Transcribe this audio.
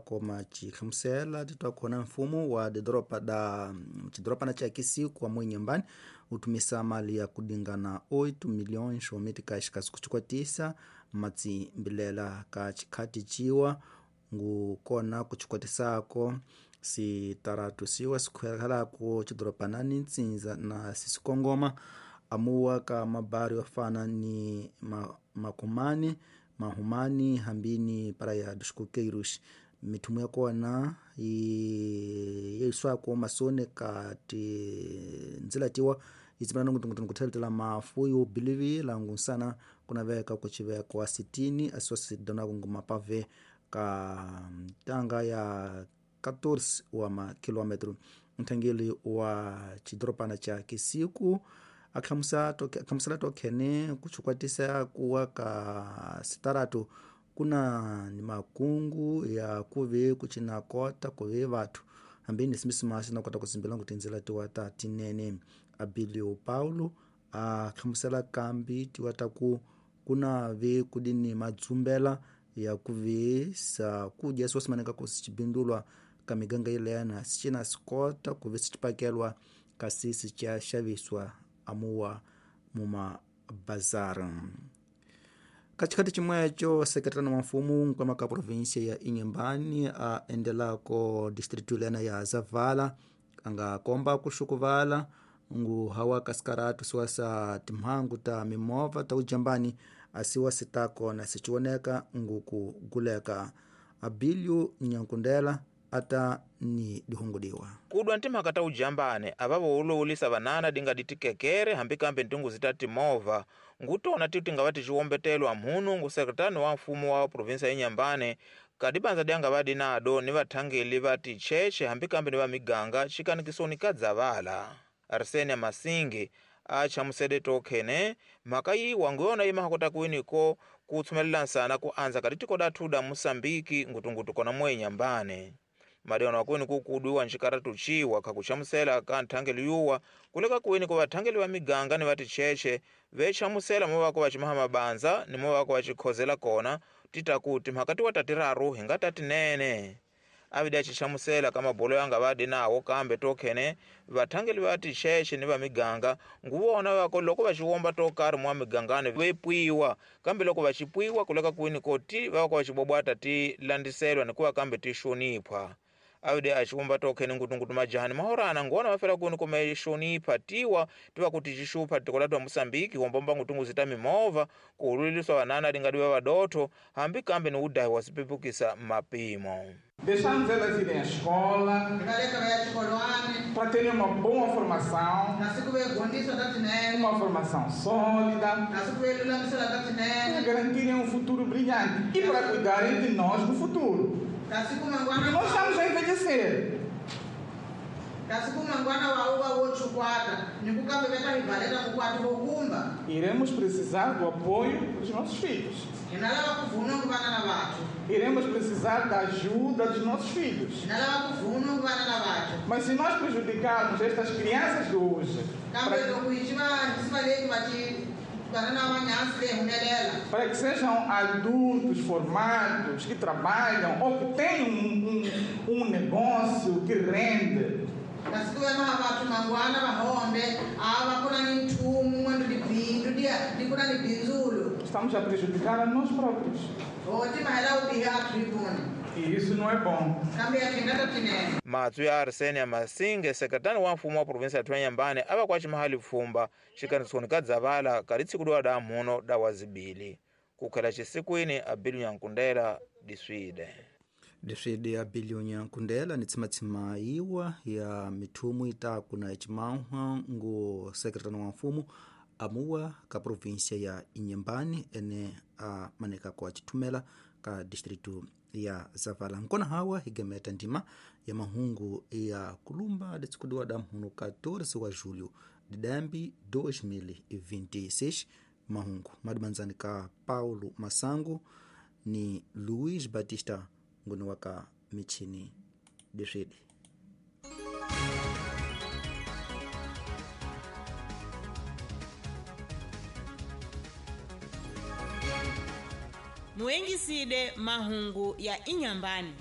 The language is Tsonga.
Koma chihlamusela titwa khona mfumo wa didoropa da chidoropana cha Kisiku wa Nyambani utumisa mali ya kudingana 8 milhões wa meticais kuchikwatisa matsimbilela ka chikhati chiwa ngu kona kuchikwatisako sitaratu siwa sikhwelako chidoropana ni ntsinza na sisikongoma amuwa ka mabari wafana ni makumani mahumani hambini praia dos coqueiros mithumu ya kona yeiswako masone ka tindzila tiwa itsimana nungutungutungu kutheletela mafu yobilivi langu nsana kunaveka kuchiveko wa sitini asiwa sidonako ngumapave ka ntanga ya 14 wa makilometro. Nthangeli wa chidoropana cha Kisiku akhamusela tokhene kuchikwatisa kuwa ka sitaratu kuna ni makungu ya kuve kuchina kota kuve vathu hambini simisimasi nakota kuzimbela ngu tindzela tiwa ta tinene. Abilio Paulo akhamusela kambi tiwa ta ku kuna ve kudini madzumbela ya kuve sa kudya siwasimaneka ku sichibindulwa ka miganga ilena sichina sikota kuve sichipakelwa kasi sichaxaviswa amuwa mumabazara. Katikati chimwecho sekretariano wa mfumo nkwama ka província ya Inhambane a endelako distrito lena ya Zavala anga komba kuxukuvala ngu hawa kasikaratu siwa sa timhangu ta mimovha ta ujambani asiwa sitako na sichioneka ngu kuguleka. Abilio Nyankundela ata ni dihungudiwa kudwa ntimhaka ta ujambane avavo ulowulisa vanana dinga ditikekere hambi kambe ntungu zitati movha ngutona ti tingava ticiwombetelwa mhunu ngu sekretani wa mfumo wa provinsia ya Inhambane kadibanza dyanga vadi nado ni vathangeli va ticheche hambi kambe ni va miganga xikanikisoni ka Dzavala. Arsenia Masingi achamusele tokhene mhaka yiwa nguyona imahakota kuwiniko kutsumelela nsana ku andza ka ditiko dathu da Musambiki ngutungutu kona mwe Inhambane. Madiwana wakuweni kukuduwa nxikaratu ciwa khakuchamusela ka nthangeli yuwa kuleka kuweni ku vathangeli va miganga ni va ticheche vechamusela mo vako va cimaha mabanza ni mo vako va cikhozela kona tita ku timhaka tiwa tatiraru hi nga tatinene. Avidi acichamusela ka mabolo yanga vadi nawo kambe tokhene vathangeli va ticheche ni va miganga nguvona vako loko va ciwomba to karhi mwa migangani vepwiwa kambe loko va cipwiwa kuleka kuweni ko ti vako va cibobwata ti landiselwa nikuva kambe ti xoniphwa. Avidi aciwomba tokhene ngutungutu majahani mahorana ngona vafela kuweni kume xonipha tiwa tiva kuti cixupha tiko la twa Musambiki wombomba ngutungu ta mimovha kuhululiswa vanana dingadi va vadotho hambi kambe ni udahi wa sipepukisa mapimo. Deixamos elas irem à escola para terem uma boa formação, uma formação sólida, para garantirem um futuro brilhante e para cuidarem de nós no futuro. Porque nós estamos a envelhecer. Iremos precisar do apoio dos nossos filhos. Iremos precisar da ajuda dos nossos filhos. Mas se nós prejudicarmos estas crianças de hoje, para que sejam adultos formados, que trabalham ou que tenham um negócio que rende, estamos a prejudicar a nós próprios. E isso não é bom. Matsu ya Arsenia Masinge, sekretari wa mfumo wa provinsia ya Inhambane ava kwa chimahali pfumba xikanisoni ka Dzavala ka litsikudiwa da mhuno da wazibili kukhela xisikwini Abilio Nyankundela diswide. Diswide Abilio Nyankundela ni tsimatsima iwa ya mithumu itaku na ecimanhwa ngu sekretari wa mfumo amuwa ka província ya Inhambane ene a maneka kwa chithumela ka distrito ya Zavala. Nkona hawa higemeta ndima ya mahungu ya kulumba ditsikudiwa da mhunu 14 wa julho de dembi 2026. Mahungu madimanzani ka Paulo Masango ni Luiz Batista nguni waka michini diswidi. Muengiside mahungu ya Inhambane.